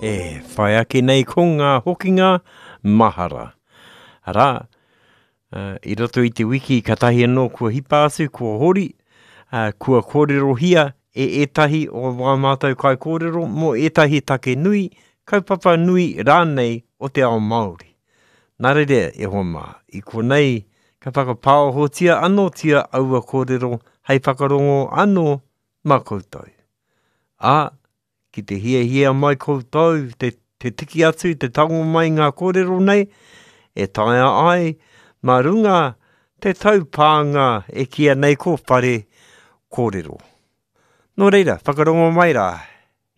E whai ake nei ko ngā hokinga mahara. Arā, i roto i te wiki katahi anō kua hipa atu, kua hori, kua kōrerohia e ētahi o wā mātou kaikōrero mō ētahi take nui, kaupapa nui rānei o te ao Māori. Nā reira, e hoa mā, i konei ka whakapāohotia anōtia aua kōrero hei whakarongo anō mā koutou. Ā, Ki te hiahia mai koutou te, te tiki atu, te tango mai ngā kōrero nei, e taea ai mā runga te taupānga e kīia nei ko Whare Kōrero. Nō reira, whakarongo mai rā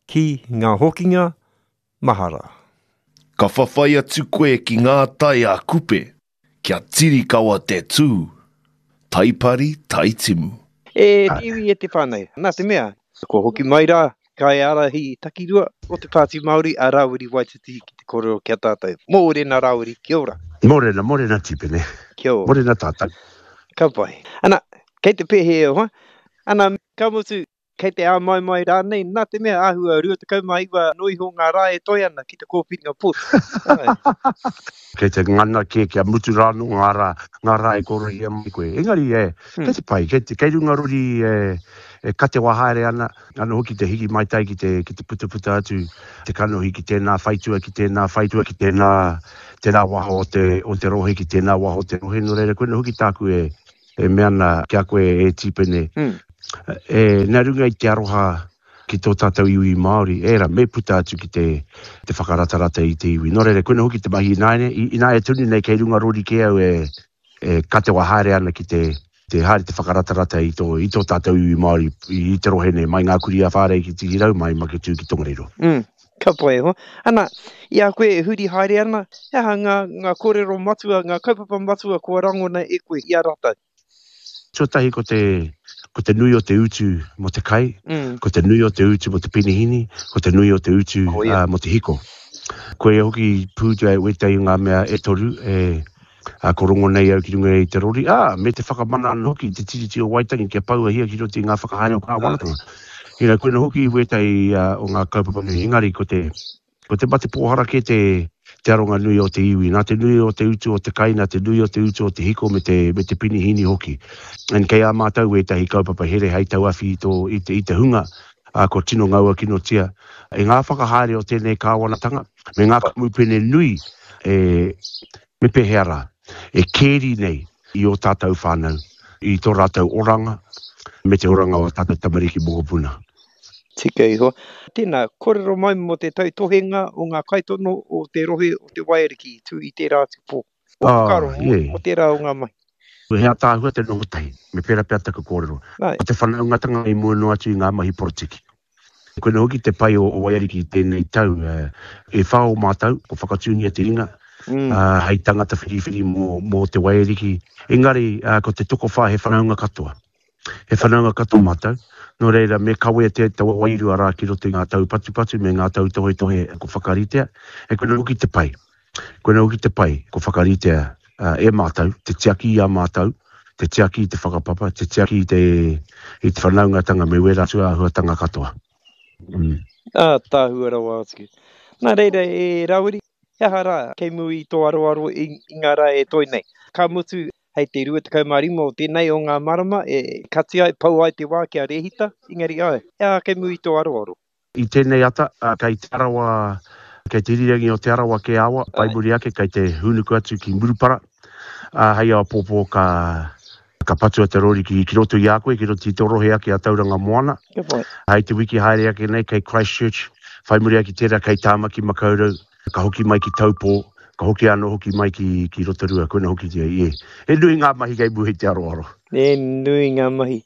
ki ngā hokinga mahara. Ka whawhai atu koe ki ngā tai a Kupe. Kia tiri kawa te tū, taipari taitimu. E te iwi e te whānau, nā te mea, kua hoki mai rā kaiārahi takirua o te Pāti Māori a Rāwiri Waititi ki te kōrero ki a tātou. Mōrena Rāwiri, kia ora. Mōrena, mōrena Tipene. Kia ora. Mōrena tātou. Ka pai. Ana, kei te pēhea e hoa? Ana, ka mutu, Kei te āmaimai rānei, nā te mea āhua 29 noa iho ngā rā e toe ana ki te kōwhiringa pōti. Āe. Kei te ngana kē kia mutu rā anō ngā rā, ngā rā e kōrohia mai koe. Engari, e, kei te pai, kei te, kei runga rori e, e katewa haere ana, anō hoki te hiki maitai ki te, ki te putaputa atu te kanohi ki tēnā whaitua, ki tēnā whaitua, ki tēnā, tēnā waha o te, o te rohe, ki tēnā waha o te rohe. Nō reira, koinā hoki tāku e, E mea ana ki a koe e Tīpene, e, nā runga i te aroha ki tō tātou iwi Māori, ērā, me puta atu ki te, te whakaratarata i te iwi. Nō reira, koina hoki te mahi ināiane, ināia tonu nei kei runga rori kē au e, e katewa haere ana ki te, te haere te whakaratarata i tō, i tō tātou iwi Māori i, i te rohe nei, mai Ngā Kurī-a-Whārei ki Tihirau, mai Maketū ki Tongariro. Mm. Ka pai e hoa. Ana, i a koe e huri haere ana, he aha ngā, ngā kōrero matua, ngā kaupapa matua kua rangona e koe i a rātou? Tuatahi ko te, ko te nui o te utu mō te kai, mm. ko te nui o te utu mō te penihini, ko te nui o te utu uh, mō te hiko. Koia hoki pūtea e wētahi o ngā mea e toru e, Ā, ko rongo nei au ki runga i te rori, ā, me te whakamana anō hoki i te Tiriti o Waitangi kia pouahia ki roto i ngā whakahaere o kāwanatanga. You know, koina hoki wētahi o ngā kaupapa nui, engari ko te, ko te mate pōhara kē te, te aronga nui o te iwi. Nā te nui o te utu o te kai, nā te nui o te utu o te hiko me te, me te pinihini hoki. And kei a mātou wētahi kaupapa here hei tauawhi i tō, i te, i te hunga, ā, kua tino ngaua kinotia e ngā whakahaere o tēnei kāwanatanga me ngā kamupene nui e, me pēhea rā, e kēri nei i ō tātou whānau, i tō rātou oranga, me te oranga o ā tātou tamariki mokopuna. Tika iho. Tēnā, kōrero mai mō te tautohenga o ngā kaitono o te rohe o te Waiariki i tū i tērā atu pō. Ō whakaaro mō tērā o ngā mahi. He ātaahua te noho tahi, me pērā pea taku kōrero. Ko te whanaungatanga i mua noa atu i ngā mahi porotiki. Koina hoki te pai o Waiariki i tēnei tau, e whā o mātou, kua whakatūngia te ringa hei tangata whiriwhiri mō te Waiariki, engari ko te tokowhā he whanaunga katoa. He whanaunga katoa mātou, nō reira me kawea te taua wairua rā ki roto i ngā taupatupatu me ngā tautohetohe kua whakaritea, e koina hoki te pai. Koina hoki te pai kua whakaritea e mātou, te tiaki i a mātou, te tiaki i te whakapapa, te tiaki i te, i te whanaungatanga me wērā atu āhuatanga katoa. Mm. Ātaahua rawa atu. Nā reira e Rawiri, he aha rā kei muri i tō aroaro i, i ngā rā e toe nei? Ka mutu, hei te 25 o tēnei o ngā marama e kati ai, pau ai te wā kia rēhita, engari āe, he aha kei muri i tō aroaro? I tēnei ata, kei Te Arawa, kei te irirangi o Te Arawa kē awa, whai muri ake kei te hūnuku atu ki Murupara, ā, hei āpōpō ka, ka patua te rori ki, ki roto i a koe, ki roto i tō rohe ake a Tauranga Moana. Hei te wiki haere ake nei kei Christchurch, whai muri ake tērā kei Tāmaki Makaurau, ka hoki mai ki Taupō, ka hoki anō hoki mai ki, ki Rotorua, koina hoki te, e, he nui ngā mahi kei mua i te aroaro. He nui ngā mahi.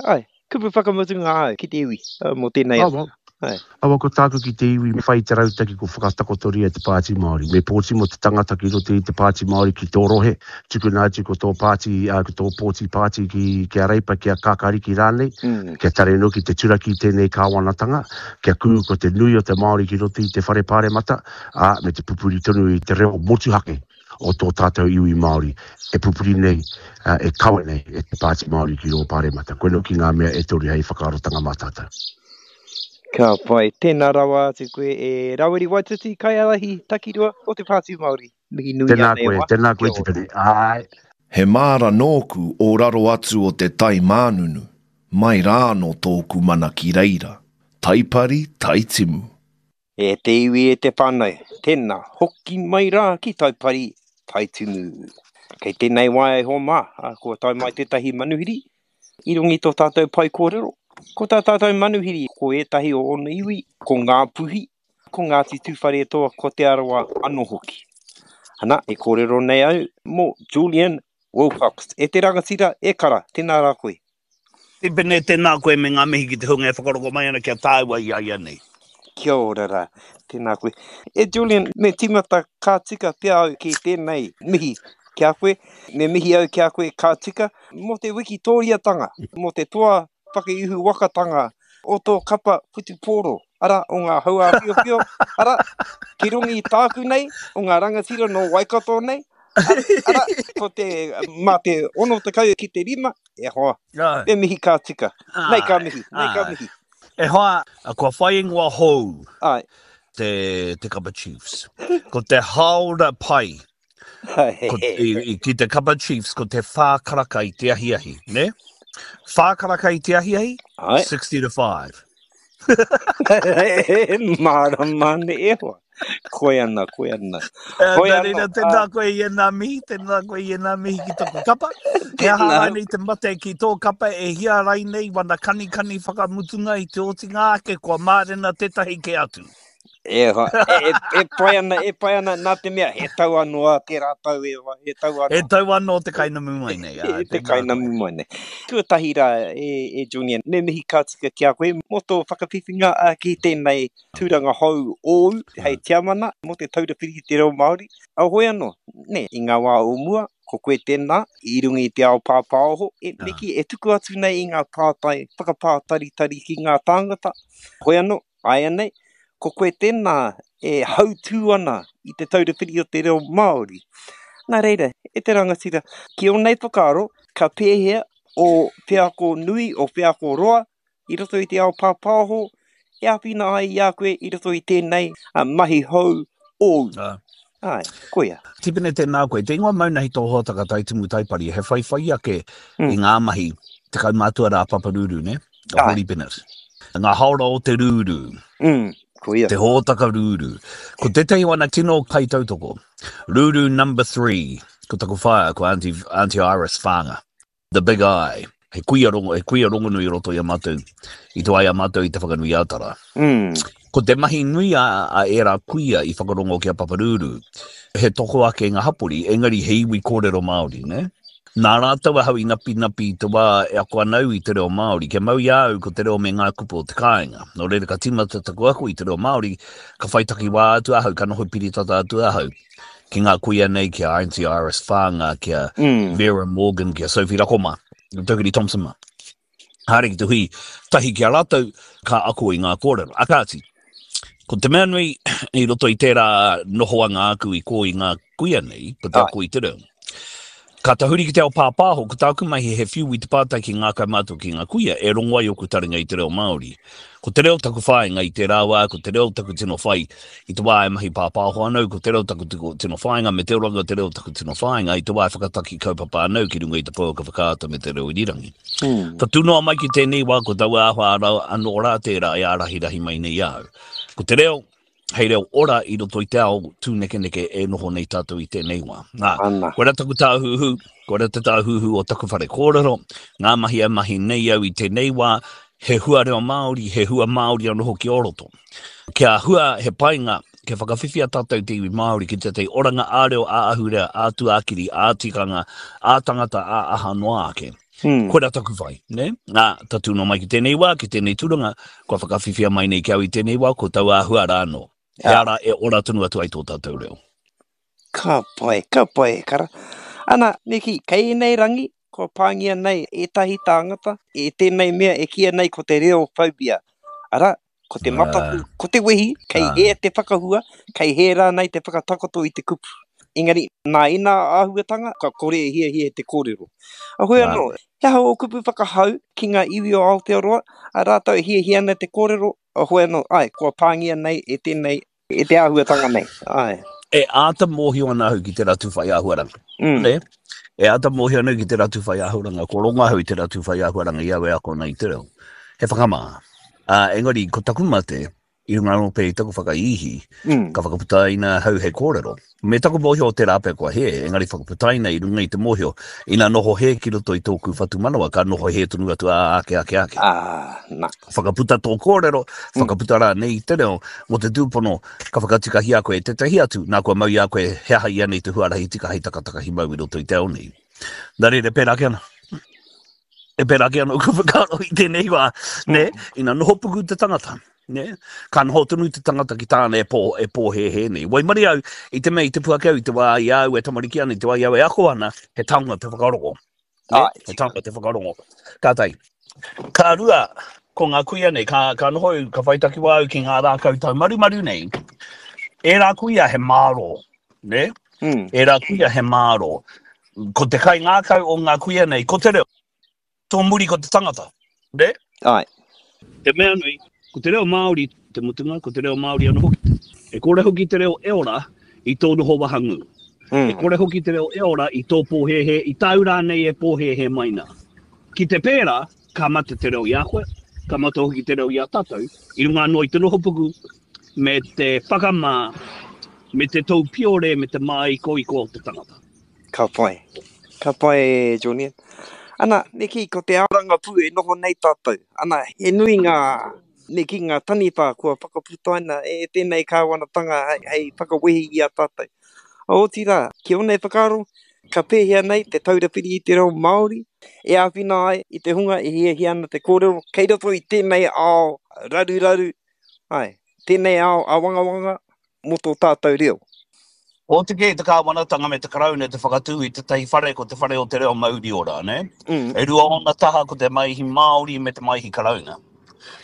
Āe, Kupu whakamutunga au ki te iwi mō tēnei ata. Awa, awa ko tāku ki te iwi me whai i te rautaki ko whakatakotoria te Pāti Māori. Me pōti mō te tangata ki roto i te Pāti Māori ki tō rohe, tukuna atu ko tō pāti, ko tō pōti pāti ki, ki a Reipa, ki a Kākāriki rānei, kia tare noa ki te turaki i tēnei kāwanatanga, kia kū ko te nui o te Māori ki roto i te Whare Pāremata, ā, me te pupuri tonu i te reo motuhake. o tō tātou iwi Māori e pupuri nei, e kawe nei e te Pāti Māori ki rō Pāremata. Koinā hoki ngā mea e toru hei whakaarotanga mā tātou. Ka pai. Tēnā rawa atu koe e Rawiri Waititi, kaiārahi takirua o te Pāti Māori. Mihi nui Tēnā koe, tēnā koe Tipene. Āe. He māra nōku o raro atu o te tai mānunu, mai rā anō tōku mana ki reira, Taipari, Taitimu. E te iwi e te whānau, tēnā, hoki mai rā ki Taipari, Taitimu. Kei tēnei wā e hoa mā, kua tae mai tētahi manuhiri i runga i tō tātou pae kōrero. Ko tā tātou manuhiri, ko ētahi o ōna iwi, ko Ngāpuhi, ko Ngāti Tūwharetoa, ko Te Arawa anō hoki. Ana, e kōrero nei au mō Julian Wilcox. E te rangatira, e kara, tēnā rā koe. Tipene, tēnā koe me ngā mihi ki te hunga e whakaroko mai ana ki a tāua i a ia nei. Kia ora rā, tēnā koe. E Julian, me tīmata ka tika pea au ki tēnei mihi ki a koe. Me mihi au ki a koe ka tika mō te wikitōriatanga, mō te toa whakaihu wakatanga o tō kapa whutupōro, arā, o ngā hauāwhiowhio, arā, ki runga i tāku nei, o ngā rangatira nō Waikato nei, arā, ko te, mā te 60 ki te 5, E hoa, me mihi ka tika. Nei ka mihi, nei ka mihi. E hoa, kua whai ingoa hou te, te kapa Chiefs. Ko te haora pai ko, i, i, ki te kapa Chiefs, ko te whā karaka i te ahiahi, ne? Whā karaka i te ahiahi, 60 to 5. Mārama ne e hoa. Koe ana, koe ana. Eh, Koe nā reira, tēnā koe i ēnā mihi, tēnā koe i ēnā mihi ki taku kapa. He aha rānei te mate ki tō kapa e hia rainei wana kanikani whakamutunga i te otinga ake kua mārena tētahi kē atu. E, hoa, e, e, e pai ana, e pai ana, nā te mea, he tau anō a tērā tau e hoa, he tau anō. He tau anō te kainamu mai nei. Ā, te kainamu mai nei. Tuatahi rā, e, e Julian, me mihi ka tika ki a koe mō tō whakawhiwhinga ki tēnei tūranga hou ōu hei tiamana mō Te Taura Whiri i te Reo Māori. A hoi anō, nē, i ngā wā o mua, ko koe tēnā, i runga i te ao pāpāoho, e me kī, e tuku atu nei i ngā pātai whakapātaritari ki ngā tāngata. Hoi anō, āianei, ko koe tēnā e hautū ana i Te Taura Whiri o te Reo Māori. Nā reira, e te rangatira, ki ō nei whakaaro, ka pēhea ō wheako nui, ō wheako roa i roto i te ao pāpāho e āwhina ai i a koe i roto i tēnei mahi hou ōu. Āe, koia. Tipene tēnā koe. Te ingoa Maunahi tō hōtaka Taitimu Taipari, he whaiwhai ake i ngā mahi te kaumātua rā Papa Ruru, nē? A Hōri Bennett. Ngā haora o te rūrū. Mm, koia. Te hōtaka rūrū. Ko tētahi o ana tino kaitautoko, Rūrū number 3, ko taku whaea, ko Auntie, Auntie Iris Whanga. The Big I, he kuia rongo, he kuia rongonui i roto i a mātou, i te wā i a mātou i Te Whanganui-ā-Tara. Mm. Ko te mahi nui a, a ērā kuia i whakarongo ki a Paparūrū, he toko ake i ngā hapori, engari he iwi kōrero Māori, nē? Nā rātou ahau i napinapi i te wā e ako ana au i te reo Māori, kia mau i a au ko te reo me ngā kupu o te kāinga. Nō reira ka tīmata taku ako i te reo Māori, ka whai takiwā atu ahau, ka noho piritata atu ahau. ki ngā kuia nei, ki a Auntie Iris Whanga, ki a mm. Vera Morgan, ki a Sophie Rakoma, Tokiri Thompson ma. Haere ki te hui tahi ki a rātou, ka ako i ngā kōrero. A kāti, ko te mea nui i roto i tērā nohoanga āku i kō i ngā kuia nei, ko te ako i te reo. Ka tahuri ki te ao pāpāho, ko tāku mahi he whiu i te pātai ki ngā kaumātua ki ngā kuia e rongo ai ōku taringa i te reo Māori. Ko te reo taku whāinga i tērā wā, ko te reo taku tino whai i te wā e mahi pāpāho ana au, ko te reo taku tino whāinga me te oranga o te reo taku tino whāinga i te wā e whakataki kaupapa ana au ki runga i te pouaka whakaata me te reo irirangi. Tatū noa mai ki tēnei wā ko taua āhua anō rā tērā e ārahirahi mai nei i a au. Ko te reo, hei reo ora i roto i te ao tūnekeneke e noho nei tātou i tēnei wā. Nā, Ana. koira taku tāhuhu, koira te tāhuhu o taku whare kōrero, ngā mahi e mahi nei au i tēnei wā, he hua reo Māori, he hua Māori anō hoki o roto. Kia hua he painga, kia whakawhiwhia tātou te iwi Māori ki tētahi oranga ā-reo, ā-ahurea, ā-tuakiri, ā-tikanga, ā-tangata, ā-aha noa ake. Mm. Koira taku whai, ne? Nā, tatū noa mai ki tēnei wā, ki tēnei tūranga, kua whakawhiwhia mai nei ki au i tēnei wā, ko taua āhua rā anō. He ara e ora tonu atu ai tō tātou reo. Ka pai, ka pai e kara. Ana, me kī, kei ēnei rangi, kua pāngia nei ētahi tāngata e tēnei mea e kīia nei ko te reo phobia. Arā, ko te mataku, ko te wehi, kei hē te whakahua, kei hē rānei te whakatakoto i te kupu. Engari, nā ēnā āhuatanga, ka kore e hiahia te kōrero. A hoi anō, he aha ō kupu whakahau ki ngā iwi o Aotearoa, a rātou e hiahia ana te kōrero, a hoi anō, āe, kua pāngia nei e tēnei, e te āhuatanga nei, āe. E āta mōhio ana ahau ki te ratu whai āhuaranga. Mm. Ne? E āta mōhio ana ki te ratu whai āhuaranga, ko rongo ahau i te ratu whai āhuaranga i au e ako ana i te reo. He whakamā. Uh, engari, ko taku mate, I runga anō pea i taku whakaihi, mm. ka whakaputaina ahau he kōrero. Me taku mōhio o tērā pea kua hē, engari whakaputaina i runga i te mōhio, ina noho hē ki roto i tōku whatumanawa, ka noho hē tonu atu ā ake ake ake. Ah, na. Whakaputa tō kōrero, mm. whakaputa rānei i te reo, mō te tūpono, ka whakatikahia koe e tētahi atu, nā kua mau i a koe he aha ianei te huarahi tika hei takatakahi mau i roto i te ao nei. Nā reira, pērā ake ana. E pērā ake anō ku whakaaro i tēnei wā, nē, mm. ina noho puku te tangata, nē, ka noho tonu te tangata ki tāna e, pō, e pōhēhē nei. Waimarie au, i te mea i te puake au i te wā i a au e tamariki ana, i te wā i au e ako ana, he taonga te whakarongo. Nē, ah, he taonga te whakarongo. Ka tahi. Ka rua, ko ngā kuia nei, ka, ka noho, ka whai takiwā au ki ngā rākau taumarumaru nei, ērā kuia he mārō, nē? Mm. Ērā kuia he mārō. Ko te kaingākau o ngā kuia nei, ko te reo. Tō muri ko te tangata, nē? Āe. Te mea nui, ko te reo Māori te mutunga, ko te reo Māori anō hoki. E kore hoki te reo e ora i tō noho wahangū. Mm. E kore hoki te reo e ora i tō pōhēhē, i tāu rānei e pōhēhē mai nā. Ki te pērā, ka mate te reo i a koe, ka mate hoki te reo i a tātou, i runga anō i te nohopuku me te whakamā, me te toupiore, me te māikoiko o te tangata. Ka pai. Ka pai e Julian. Ana, me kī, ko te ao rangapū e noho nei tātou. Ana, he nui ngā, me kī, ngā taniwha kua whakaputaina e tēnei kāwanatanga hei, hei whakawehi i a tātou. Otirā, ki ōnei whakaaro, ka pēhea nei te Taura Whiri i te Reo Māori e āwhina ai i te hunga e hiahia ana te kōrero kei roto i tēnei ao raruraru, āe, tēnei ao āwangawanga mō tō tātou reo. Oti kē te kāwanatanga me te Karauna te whakatū i tētahi whare ko Te Whare o te Reo Mauri Ora, nē? Mm. E rua ōna taha ko te Maihi Māori me te Maihi Karauna.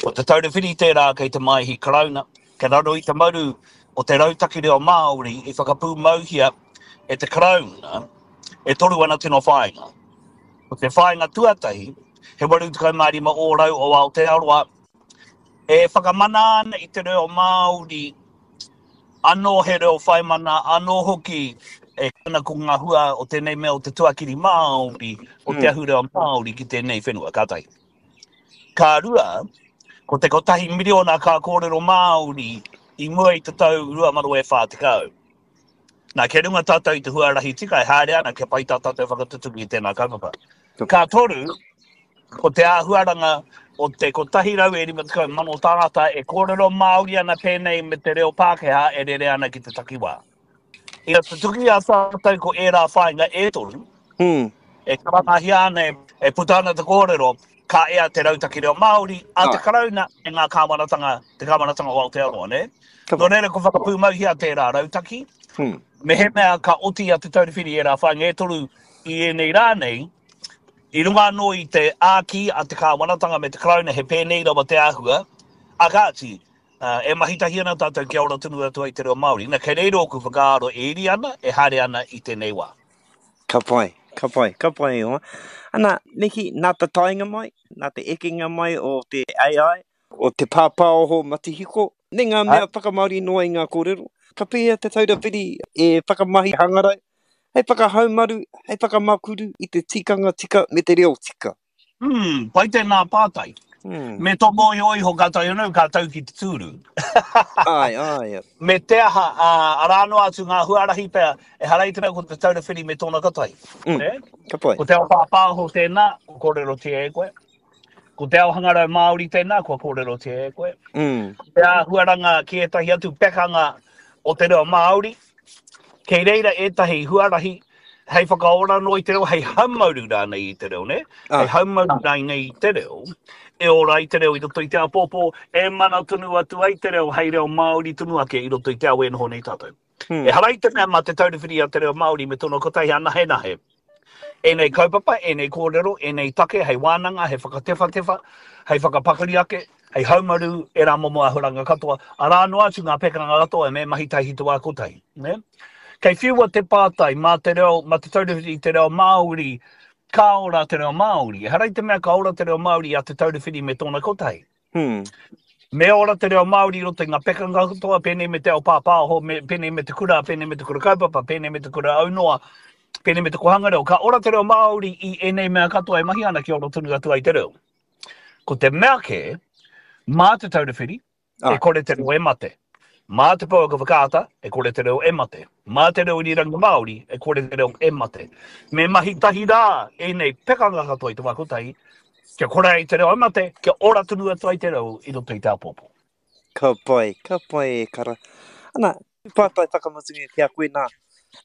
Ko Te Taura Whiri tērā kei te Maihi Karauna, kei raro i te maru o te Rautaki Reo Māori i whakapūmauhia e te Karauna, e toru ana tino whāinga. Ko te whāinga tuatahi, he 85 ōrau o Aotearoa e whakamana ana i te reo Māori, anō he reo whaimana, anō hoki e ana ko ngā hua o tēnei mea o te tuakiri Māori, o te mm. ahurea Māori ki tēnei whenua, ka tahi. Ka rua, ko te kotahi miriona ka kōrero Māori i mua i te tau 2040. Nā, kia runga tātou i te huarahi tika e haere ana kia pai tā tātou whakatutuki i tēnā kaupapa. Ka toru, ko te āhuaranga o te 150,000 tāngata e kōrero Māori ana pēnei me te reo Pākehā e rere ana ki te takiwā. Ina tutuki a tātou ko ērā whāinga e toru, mm. e karangahia ana, e puta ana te kōrero, ka ea te rautaki reo Māori a te Karauna e ngā kāwanatanga, te kāwanatanga o Aotearoa, nē? Nō reira, kua whakapūmauhia tērā rautaki. Hmm. Mehemea ka oti a Te Taura Whiri ērā whāinga e toru i ēnei rā nei, i runga anō i te āki a te kāwanatanga me te Karauna he pēnei rawa te āhua, a kāti, e mahi tahi ana tātou kia ora tonu atu ai te reo Māori. Na, kei reira ōku whakaaro e iri ana, e haere ana i tēnei wā. Ka pai, ka pai, ka pai e hoa. Ana, me kī, nā te taenga mai, nā te ekenga mai o te AI, o te pāpāoho matihiko, me ngā mea whakamāori noa i ngā kōrero, ka pēhea Te Taura Whiri e whakamahi hangarau hei whakahaumaru, hei whakamakuru i te tikanga tika me te reo tika? Hmm, pai tēnā pātai. Hmm. Me tō mōhio iho ka tae anō, ka tau ki te tūru. Ai, ai. Me te aha, uh, arā noa atu ngā huarahi pea, ehara i te mea ko te taura whiri me tōna kotahi. Mm, eh? Ka pai. Ko te ao pāpāho tēnā, kua kōrerotia e koe. Ko te ao hangarau Māori tēnā, kua kōrerotia e koe. Mm. Ko te āhuaranga ki ētahi atu pekanga o te reo Māori, Kei reira ētahi huarahi hei whakaora anō i te reo, hei haumaru rānei i te reo, nē? Ah. Hei haumaru rānei i te reo, e ora ai te reo i roto i te āpōpō, e mana tonu atu ai te reo hei reo Māori tonu ake i roto i te ao e noho nei tātou. Hmm. Ehara i te mea mā Te Taura Whiri a te Reo Māori me tōna kotahi anahenahe. Ēnei kaupapa, ēnei kōrero, ēnei take hei wānanga, hei whakatewhatewha, hei whakapakari ake, hei haumaru ērā momo āhuranga katoa, arā noa atu ngā pekanga katoa me mahi tahi te wā kotahi. Nē? Kei whiua te pātai, mā te reo, mā Te Taura Whiri i te Reo Māori, ka ora te reo Māori. Ehara i te mea ka ora te reo Māori i a Te Taura Whiri me tōna kotahi. Hmm. Me ora te reo Māori i roto i ngā pekanga katoa, pēnei me te ao pāpāho, me, pēnei me te kura, pēnei me te kura kaupapa, pēnei me te kura aunoa, pēnei me te kohanga reo. Ka ora te reo Māori i ēnei mea katoa e mahi ana kia ora tonu atu ai te reo. Ko te mea kē, mā Te Taura Whiri, e kore te reo e mate. Mā te pouaka whakaata, e kore te reo e mate. Mā te reo irirangi Māori, e kore te reo e mate. Me mahi tahi rā ēnei pekanga katoa i te wā kotahi, kia kore ai te reo e mate, kia ora tonu atu ai te reo i roto i te āpōpō. Ka pai, ka pai e kara. Ana, pātai whakamutunga ki a koe nā,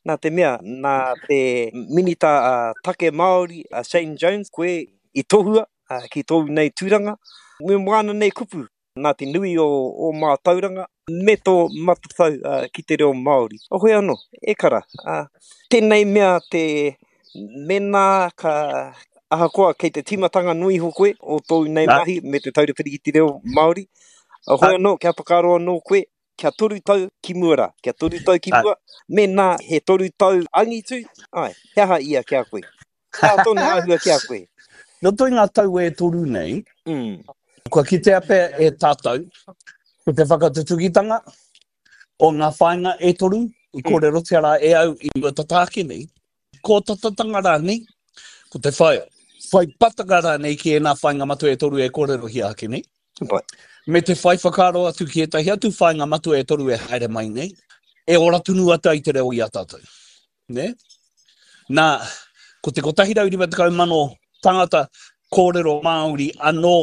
nā te mea, nā te Minita Take Māori a Shane Jones koe i tohua ki tōu nei tūranga, me wāna nei kupu nā te nui o ō mātauranga me tō matatau ki te reo Māori. Hoi anō, e kara, tēnei mea te mēnā ka, ahakoa kei te tīmatanga noa iho koe o tōu nei mahi me te Taura Whiri i te Reo Māori, hoi anō, kia whakaaro anō koe, kia toru tau ki mua rā, kia toru tau ki mua, mēnā he toru tau angitu, āe, he aha ia ki a koe? He aha tōna āhua ki a koe? Roto i ngā tau e toru nei, mm. kua kitea pea e tātou ko te whakatutukitanga o ngā whāinga e toru i mm. kōrerotia rā e au i mua tata ake nei, kōtatatanga rānei, ko te whai, whai patanga rānei ki ēnā whāinga matua e toru e kōrerohia ake nei. Pai. Me te whai whakaaro atu ki ētahi atu whāinga matua e toru e haere mai nei, e ora tonu atu ai te reo i a tātou. Nē? Nā, ko te 150,000 tangata kōrero Māori anō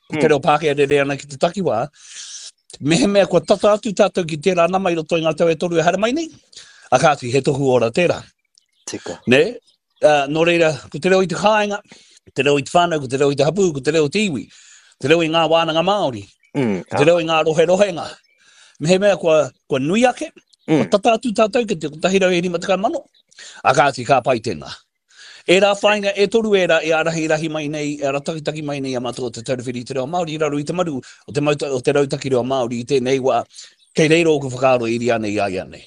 ko te mm. reo Pākehā rere ana ki te takiwā, mehemea kua tata atu tātou ki tērā nama i roto i ngā tau e toru e haere mai nei, a kāti, he tohu ora tērā. Tika. Nē? Uh, nō reira, ko te reo i te kāinga, te reo i te whānau, ko te reo i te hapū, ko te reo i te iwi, te reo i ngā wānanga Māori, mm, ko te reo i ngā roherohenga. Mehemea kua, kua nui ake, mm. kua tata atu tātou ki te 150,000, a kāti ka pai tēnā. Ērā whāinga e toru ērā e ārahi rahi mai nei, e aratakitaki mai nei a mātou o Te Taura Whiri i te Reo Māori i raro i te maru o te, mauta, o te Rautaki Reo Māori i tēnei wā, kei reira ōku whakaaro e iri ana i a ia nei.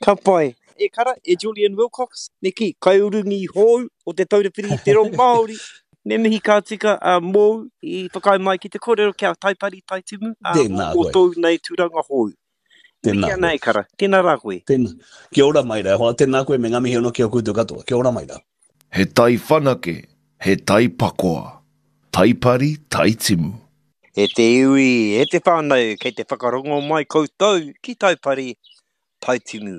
Ka pai. E kara, e Julian Wilcox, me kī, kaiurungi hou o Te Taura Whiri i te Reo Māori, me mihi ka tika a mōu i whakaae mai ki te kōrero kia Taipari Taitimu, ā, Tēnā mō koe. tōu nei tūranga hou. Tēnā Mihi ana koe. e kara, tēnā rā koe. Tēnā. Kia ora mai rā, hoa, tēnā koe me ngā mihi anō ki a koutou katoa. Kia ora mai rā. He tai whanake, he tai pakoa. Taipari, Taitimu. E te iwi, e te whānau, kei te whakarongo mai koutou ki Taipari, Taitimu.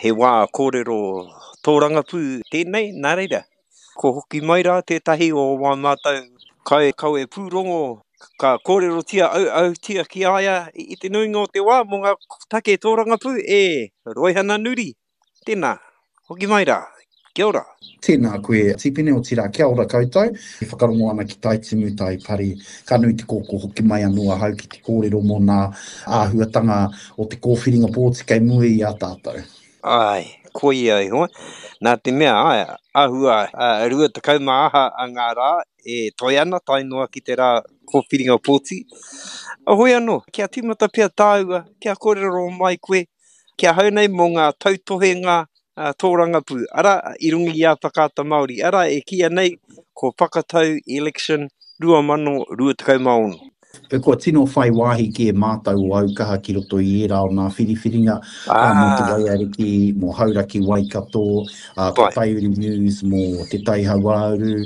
He wā kōrero tōrangapū tēnei, nā reira, ko hoki mai rā tētahi o wā mātou kaikawe pūrongo ka kōrerotia auautia ki a ia i te nuinga o te wā mō ngā take tōrangapū, e Roihana Nuri. Tēnā, hoki mai rā. Kia ora. Tēnā koe Tipene, otirā kia ora koutou. E whakarongo ana ki Tai Timu, Tai Pari. Ka nui te kōkō hoki mai anō ahau ki te kōrero mō nā āhuatanga o te kōwhiringa pōti kei mua i a tātou. Āe, koia e hoa. Nā te mea, āe, āhua 20 aha a ngā rā e toe ana tae noa ki te rā kōwhiringa pōti. Hoi anō, kia tīmata pea tāua, kia kōrero mai koe Ki ahau nei mō ngā tautohenga tōrangapū, arā, i runga i a Whakaata Māori, arā, e kīia nei ko Whakatau Election 2026. Kua tino whai wāhi kē mātou o Aukaha ki roto i ērā o nā whiriwhiringa mō Te Waiariki, mō Hauraki Waikato, ko Taiuru News mō Te Tai Hauāuru,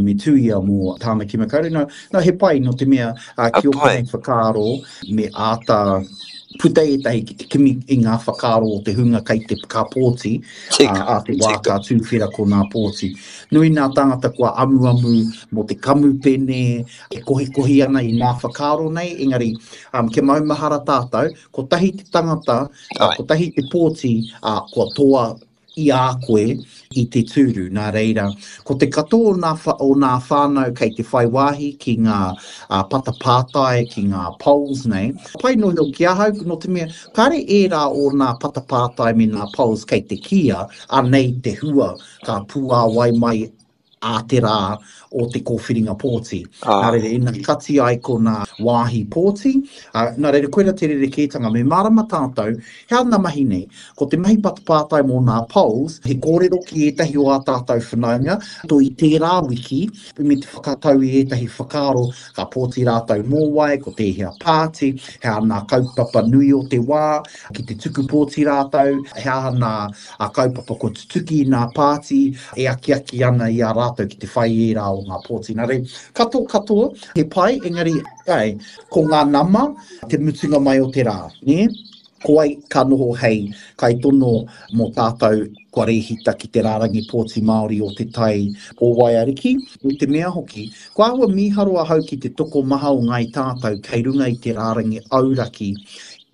me Tuia mō Tāmaki Makaurau. Nā, he pai nō te mea ki ōku nei whakaaro me āta puta ētahi ki te kimi i ngā whakaaro o te hunga kei te ka pōti, ā te wā ka tūwhera ko nā pōti. Nui nā tāngata kua amuamu mō te kamupene e kohikohi ana i nā whakaaro nei, engari um, kia maumahara tātou, kotahi te tangata, kotahi te pōti, ā, kua toa i a koe i te tūru. Nā reira, ko te katoa o nā, o nā whānau kei te whai wāhi ki ngā patapātai, ki ngā polls nei. Pai noa iho ki ahau, nō te mea, kāre ērā o nā patapātai me nā polls kei te kīia, anei te hua ka puāwai mai. ā te rā o te kōwhiringa pōti. Nā reira, ina kati ai ko nā wāhi pōti, ā, nā reira, koira te rerekētanga. Me mārama tātou, he aha ngā mahi nei? Ko te mahi patapātai mō nā polls, he kōrero ki ētahi o ā tātou whanaunga, to i tērā wiki, me te whakatau i ētahi whakaaro, ka pōti rātou mō wai, ko tēhea pāti, he aha nā kaupapa nui o te wā, ki te tuku pōti rātou, he aha nā kaupapa kua tutuki i nā pāti e akiaki ana i a rātou ki te whai ērā o ngā pōti. Nā reira, katoa katoa, he pai, engari, āe, ko ngā nama te mutunga mai o te rā, nē? Ko wai ka noho hei kaitono mō tātou kua rēhita ki te rārangi pōti Māori o Te Tai o Waiariki? Me te mea hoki, kua āhua mīharo ahau ki te tokomaha o ngāi tātou kei runga i te rārangi auraki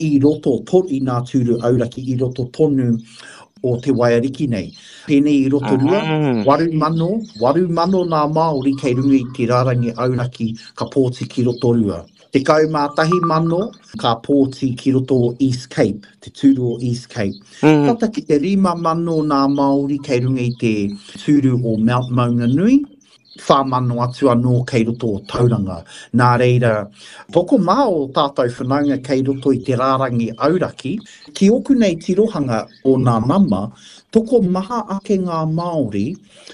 i roto i ngā tūru auraki i roto tonu o Te Waiariki nei. Pēnei i Rotorua, 8,000, 8,000 ngā Māori kei runga i te rārangi auraki ka pōti ki Rotorua. 11,000 ka pōti ki roto o East Cape, te tūru o East Cape. Tata ki te 5,000 nā Māori kei runga i te tūru o Mount Maunganui, 4,000 atu anō kei roto o Tauranga. Nā reira, tokomaha o tātou whanaunga kei roto i te rārangi auraki. Ki ōku nei tirohanga o nā nama, tokomaha ake ngā Māori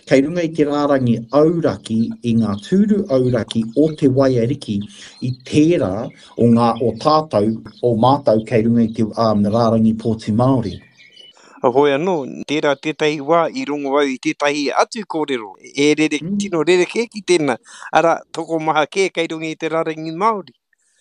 Kei runga i te rārangi auraki i ngā tūru auraki o Te Waiariki i tērā o ngā o tātou, o mātou kei runga i te rārangi pōti Māori. Heoi anō, tērā tētahi wā i rongo au i tētahi atu kōrero e rere, tino rerekē ki tēnā, arā, tokomaha kē kei runga i te rārangi Māori.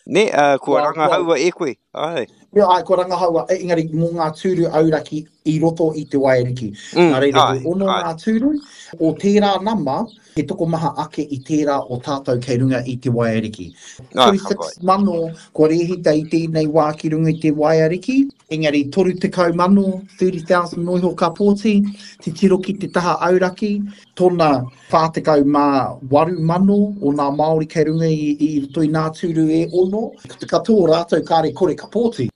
Nē, ā, kua rangahaua e koe, āe. Āe, āe, kua rangahaua, engari mō ngā tūru auraki i roto i Te Waiariki. Nā reira, he ono ngā tūru, o tērā nama, he tokomaha ake i tērā o tātou kei runga i Te Waiariki. 36,000 kua rēhita i tēnei wā ki runga i Te Waiariki, engari 30,000, 30,000 noa iho ka pōti, titiro ki te taha auraki, tona 48,000 o nā Māori kei runga i, i roto i nā tūru e ono, ko te katoa o rātou kāre kore ka pōti.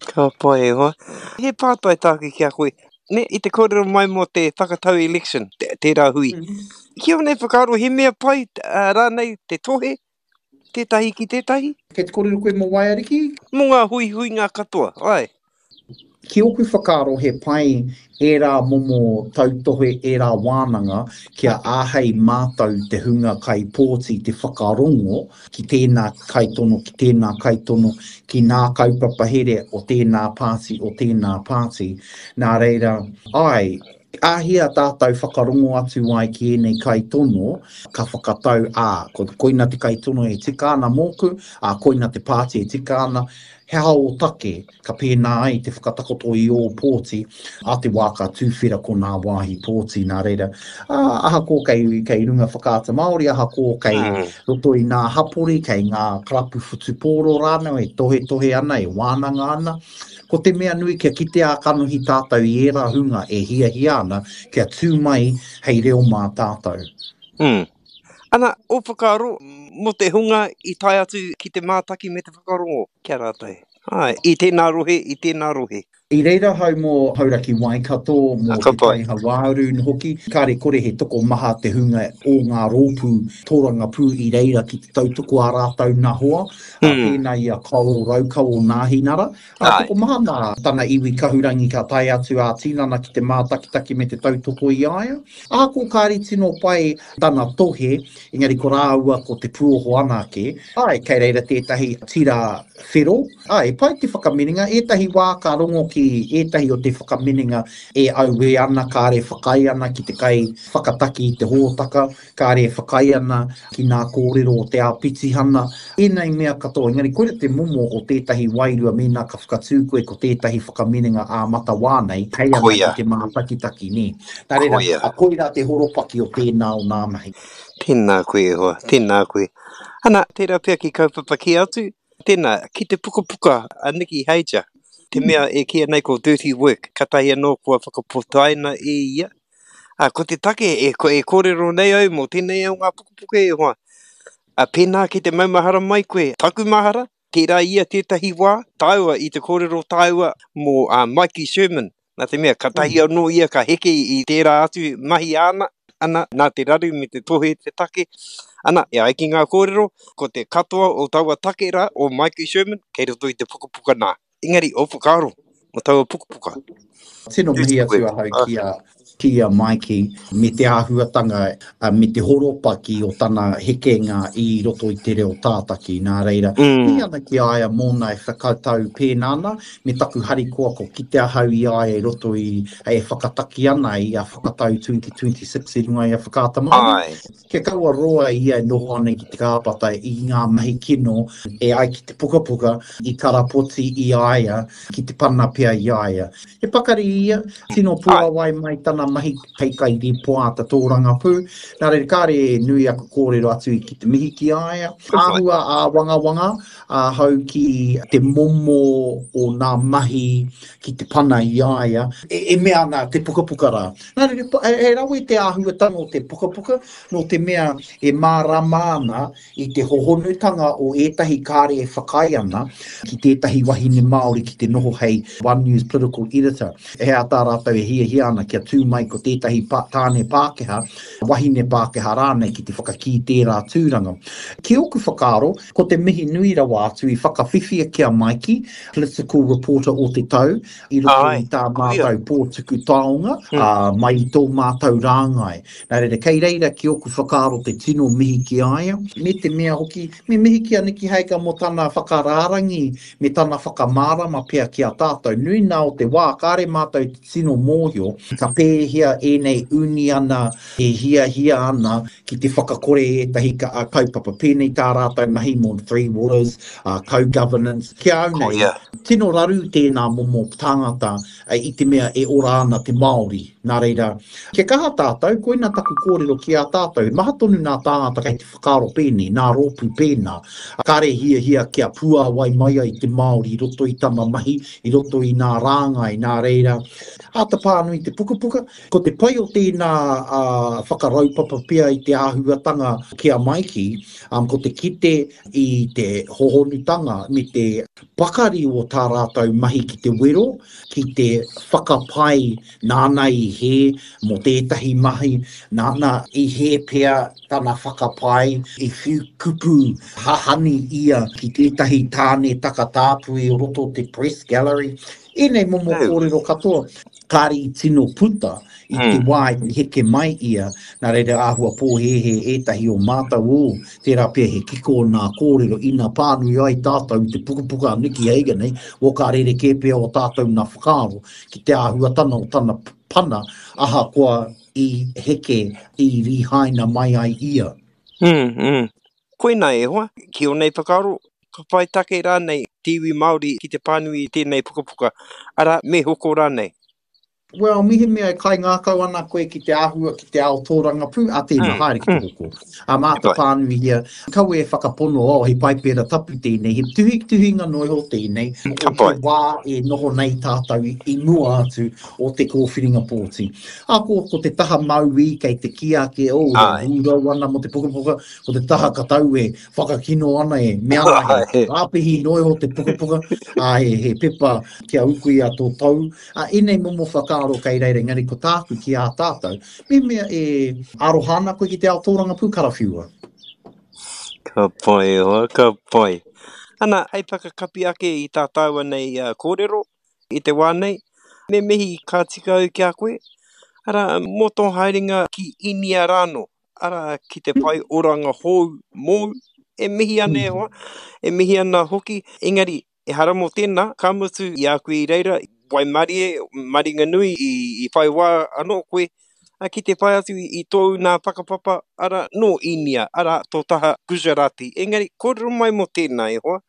Ka pai e hoa. He pātai tāku ki a koe, ne, i te kōrero mai mō te whakatau election, tērā hui. Ki ō nei whakaaro he mea pai rānei te tohe tētahi ki tētahi? Kei te kōrero koe mō Waiariki? Mō ngā huihuinga katoa, āe. Ki ōku whakaaro he pai ērā momo tautohe, ērā wānanga kia āhei mātou te hunga kaipōti te whakarongo ki tēnā kaitono, ki tēnā kaitono, ki nā kaupapa here o tēnā pāti, o tēnā pāti. Nā reira, āe, Āhea tātou whakarongo atu ai ki ēnei kaitono, ka whakatau, ā, ko, koina te kaitono e tika ana mōku, ā, koina te pāti e tika ana, he aha ō take ka pēnā ai te whakatakoto i ō pōti, ā te wā ka tūwhera ko nā wāhi pōti, nā reira, ā, ahakoa kei, kei runga Whakaata Māori, ahakoa kei roto i nā hapori, kei ngā karapu whutupōro rānau e tohetohe ana, e wānanga ana, Ko te mea nui kia kite ā-kanohi tātou i ērā hunga e hiahia ana kia tū mai hei reo mā tātou. Mm. Ana, ō whakaaro mō te hunga i tae atu ki te mātaki me te whakarongo ki a rātou? Āe, i tēnā rohe, i tēnā rohe. I reira ahau mō Hauraki Waikato, mō Te Tai Hauāuru hoki. Kāre kore he tokomaha te hunga o ngā rōpū tōrangapū i reira ki te tautoko ā rātou nā hoa. Ā, pēnā i a Kaoro Raukawa o Nāhinara. Ā, tokomaha nā tana iwi kahurangi ka tae atu ā-tinana ki te mātakitaki me te tautoko i a ia. Ahakoa kāre tino pai tana tohe, engari ko rāua ko Te Puoho anake. Āe, kei reira tētahi tira whero. Āe, pai te whakaminenga. Ētahi wā ka rongo ki ētahi o te whakaminenga e auē ana, kāre whakaae ana ki te kai whakataki i te hōtaka. Kāre e whakaae ana ki nā kōrero o te āpitihana, ēnei mea katoa, engari koira te momo o tētahi wairua mēnā ka whakatū koe ko tētahi whakaminenga ā-matawā nei, hei ana ki te mātakitaki, nē. Nā reira, koirā te horopaki o tēnā o nā mahi. Tēnā koe e hoa, tēnā koe. Ana, tērā pea ki kaupapa kē atu, tēnā, ki te pukapuka a Nikki Hager, te mea e kīia nei ko Dirty Work, katahi anō kua whakapotaina e ia, Ā, ko te take e, e kōrero nei au mō tēnei o ngā pukapuka e hoa, ā, pēnā ki te maumahara mai koe, taku mahara, tērā ia tētahi wā, tāua i te kōrero tāua mō ā, Mikey Sherman, nā te mea, katahi anō ia ka heke i tērā atu mahi āna. Ana, nā te raru me te tohe te take. Ana, e ai ki ngā kōrero, ko te katoa o taua take rā, o Maiki Sherman, kei roto i te pukapuka nā. Engari, ō whakaaro mō taua pukapuka? Tino mihi atu ahau ki a, ki a Maiki me te āhuatanga me te horopaki o tana hekenga i roto i te reo tātaki. Nā reira, mihi ana ki a ia mōna e whakatau pēnā ana, me taku harikoa ko kite ahau i a ia i roto i, e whakataki ana i a Whakatau 2026 i runga i a Whakaata Māori. Kia kaua roa ia e noho ana ki te kāpata i ngā mahi kino e ai ki te pukapuka i karapoti i a ia, ki te pana pea i a ia. He pakari ia, tino puāwai mai tana mahi hei kairīpoata tōrangapū, nā reira kāre e nui aku kōrero atu ki te mihi ki a ia. Āhua āwangawanga ahau ki te momo o nā mahi ki te pana i a ia, e mea ana te pukapuka rā. Nā reira, he rawe te āhuatanga o te pukapuka, nō te mea e mārama ana i te hohonutanga o ētahi kāre e whakaae ana ki tētahi wahine Māori ki te noho hei One News Political Editor. He aha tā rātou e hiahia ana kia tū mai ko tētahi tāne Pākehā, wahine Pākehā rānei ki te whakakī tērā tūranga. Ki ōku whakaaro, ko te mihi nui rawa atu i whakawhiwhia ki a Maiki, Political Reporter o te tau, i roto i tā mātou pō tuku taonga, ā, mai i tō mātou rāngai. Nā reira, kei reira ki ōku whakaaro te tino mihi ki a ia, me te mea hoki, me mihi ki a Nikki Hager mō tana whakarārangi me tana whakamārama pea ki a tātou. Nui nā o te wā, kāre mātou i te tino mōhio ka pēhea ēnei uniana e hiahia ana ki te whakakore i ētahi kaupapa, pēnei tā rātou mahi mō Three Waters, co-governance. Ki a au nei, tino raru tēnā momo tāngata i te mea e ora ana te Māori. Nā reira, kia kaha tātou, koina taku kōrero ki a tātou, he maha tonu nā tāngata kei te whakaaro pēnei, nā rōpū pēnā, kāre hiahia kia puāwai mai ai te Māori i roto i tana mahi, i roto i nā rāngai, nā reira, āta pānui te pukapuka. Ko te pai o tēnā whakaraupapa pea i te āhuatanga ki a Maiki, ko te kite i te hohonutanga me te pakari o tā rātou mahi ki te wero, ki te whakapae nāna i hē mō tētahi mahi, nāna i hē pea tana whakapae, i whiu kupu hahani ia ki tētahi tāne takatāpui o roto o te press gallery. Ēnei momo kōrero katoa, kāre i tino puta i te wā i heke mai ia, nā reira āhua pōhēhē ētahi o mātou, ō, tērā pea he kiko o nā kōrero ina pānui ai tātou i te pukapuka a Nikki Hager nei, ō ka rerekē pea o tātou nā whakaaro ki te āhuatanga o tana pana ahakoa i heke, i rīhaina mai ai ia. Mm, mm. Koinā e hoa, ki ō nei whakaaro, ka whai take rānei te iwi Māori ki te pānui i tēnei pukapuka, arā, me hoko rānei? Well, mehemea e kaingākau ana koe ki te āhua, ki te ao tōrangapū, a tēnā, haere ki te hoko. Ā, mā te pānuihia, kaua e whakapono, oh, he paipera tapu tēnei, he tuhituhinga noa iho tēnei, o te wā e noho nei tātou i mua atu o te kōwhiringa pōti. Ā, ko, ko te taha mauī kei te kī ake, oh, e hūrau ana mō te pukapuka, ko te taha katau e whakakino ana e mea ana he rāpihi noa iho te pukapuka, ā, he, he pepa kia ukuia tō tou. Ā, ēnei momo whakaaro kei reira, engari ko tāku ki ā tātou, mehemea e aroha ana koe ki te ao tōrangapū, karawhiua. Ka pai e hoa, ka pai. Ana, hei whakakapi ake i tā tāua nei kōrero i te wā nei, me mihi ka tika au ki a koe, arā, mō tō haerenga ki Īnia rānō. arā, ki te whai oranga hou mōu, e mihi ana e hoa, e mihi ana hoki, engari, ehara mō tēnā, ka mutu i a koe i reira, waimarie, maringanui i, i whai wā anō koe, ki te whai atu i tōu nā whakapapa, arā, nō Īnia, arā, tō taha Gujarati. Engari, kōrero mai mō tēnā e hoa.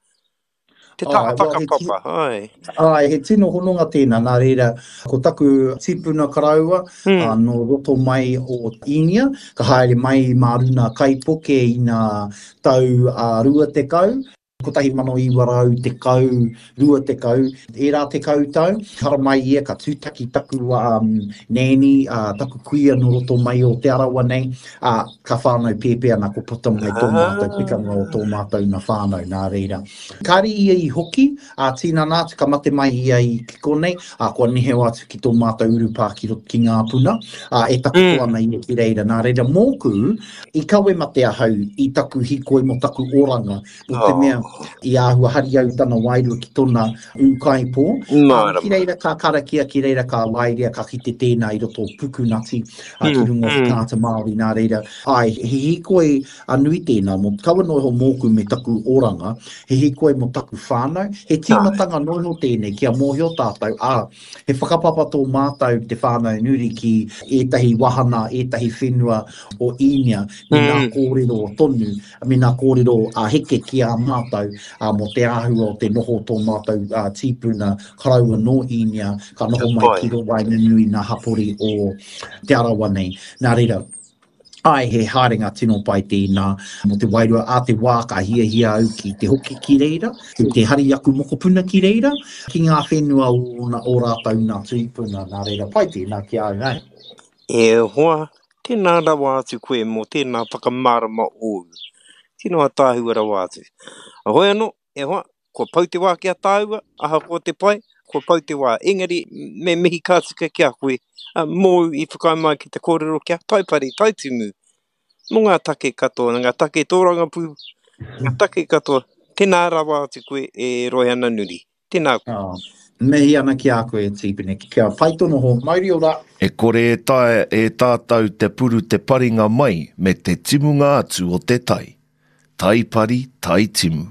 Te taha whakapapa, āe. Āe, he tino hononga tēnā, nā reira, ko taku tipuna koroua, nō roto mai o Īnia, ka haere mai mā runa kaipuke i ngā tau 20. 1910, 20, ērā tekau tau, haramai ia ka tūtaki taku um, nēni, uh, taku kuia nō roto mai o Te Arawa nei, ā, ka whānau pēpē ana ko puta mai tō mātou pikanga o tō mātou na whānau, nā reira. Kāre ia i hoki, ā, tīnana atu, ka mate mai ia i ki konei, ā, kua neheo atu ki tō mātou urupā ki roto ki Ngāpuna, ā, e takoto ana ia ki reira. Nā reira, mōku, i kawe mate ahau i taku hīkoi mō taku oranga, nō te mea i āhua hari au tana wairua ki tona ūkaipō. Ā, ki reira ka karakia, ki reira ka waerea, ka kite tēnā i roto o Pukunati, ā, ki runga o Whakaata Māori, nā reira, āe, he hīkoi a nui tēnā, mō, kaua noa iho mōku me taku oranga, he hīkoi mō taku whānau, he tīmatanga noa iho tēnei kia mōhio tātou, ā, He whakapapa tō mātou te whānau Nuri ki ētahi wahana, ētahi whenua o Īnia me ngā kōrero tonu, me ngā kōrero a Heke ki a mātou mō te āhua o te noho o tō mātou tīpuna koroua nō Īnia ka noho mai ki waenganui nā hapori o Te Arawa nei. Nā reira, Āe, he haerenga tino pai tēnā mō te wairua. Ā te wā ka hiahia au ki te hoki ki reira, ki te hari aku mokopuna ki reira, ki ngā whenua o ōna, ō rātou nā tūpuna, nā reira pai tēnā ki a au, āe. E hoa, tēnā rawa atu koe mō tēnā whakamārama ōu. Tino ataahua rawa atu. Heoi anō, e hoa, kua pau te wā ki a tāua, ahakoa te pai, kua pau te wā. Engari, me mihi ka tika ki a koe, mōu i whakaae mai ki te kōrero ki a Taipari, Taitimu, mō ngā take katoa, ngā take tōrangapū, ngā take katoa. Tēnā rawa atu koe e Roihana Nuri. Tēnā koe. Oh, mihi ana ki a koe, Tīpene. Kia pai tō noho. Mauri ora! E kore e taea e tātou te puru te paringa mai me te timunga atu o te tai. Tai pari, tai timu.